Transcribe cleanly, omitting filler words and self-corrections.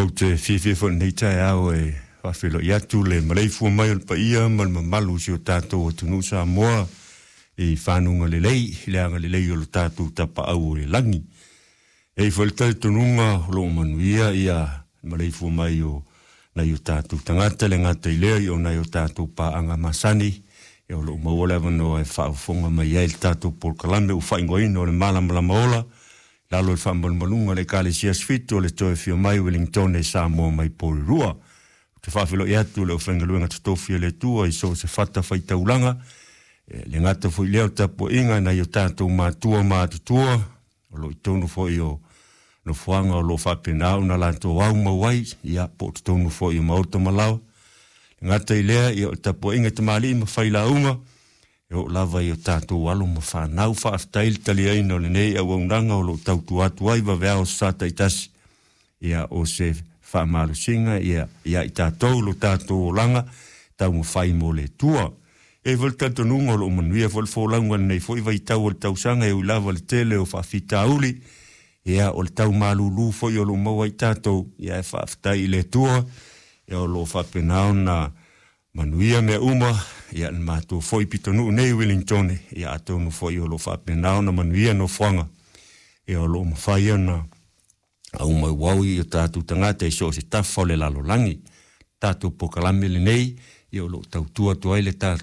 Ou te fiafia foi i lenei taeao e faafeiloai atu le maleifua mai o le paia ma le mamalu o si o tatou atunuu Samoa i fanuga lelei, i le agalelei o lo tatou Tapaau o i le lagi. E i ai foi le talitonuga o lo o manuia ia le maleifua mai o nai o tatou tagata, e le gata i lea o nai o tatou paaga masani, ia o lo o maua le avanoa e faafofoga mai ai i le tatou polokalame ua faaigoaina o le Malamalama Ola, lalo o le faamalumaluga a le Ekalesia Aso Fitu o le Toe Afio Mai Ueligitone Samoa mai Porirua. Ou te faafeiloai atu i le aufaigaluega totofi a le Atua i so o se fatafaitaulaga, e le gata foi i lea o le tapuaiga a nai o tatou matua matutua o lo o i totonu foi o nofoaga o lo o faapena ona latou aumau ai, ia po o totonu foi o maota ma laoa. E le gata i lea, ia o le tapuaiga i tamalii ma failauga, e oo lava i o tatou alo ma fanau. Faafetai le taliaina o lenei auaunaga o lo o tautua atu ai vaveao sa taitasi. Ia, o se faamalosiga ia ia i tatou lo tatou olaga taumafai mo le Atua. E i ai foi le talitonuga o lo o manuia foi le folauga i lenei foi vaitau o le tausaga e ui lava i le tele o faafitauli, ia o le tau malulu foi o lo o maua ai tatou, ia ae faafetai i le Atua, ia o lo o faapena ona manuia mea uma, ia le matou foi pitonuu nei i Wellingtone, ia atonu foi o lo o faapena ona manuia nofoaga, ia o lo o mafai ona aumauau i o tatou tagata i so o se tafa o le lalolagi. Tatou polokalame lenei, ia o lo o tautua atu ai le tatou.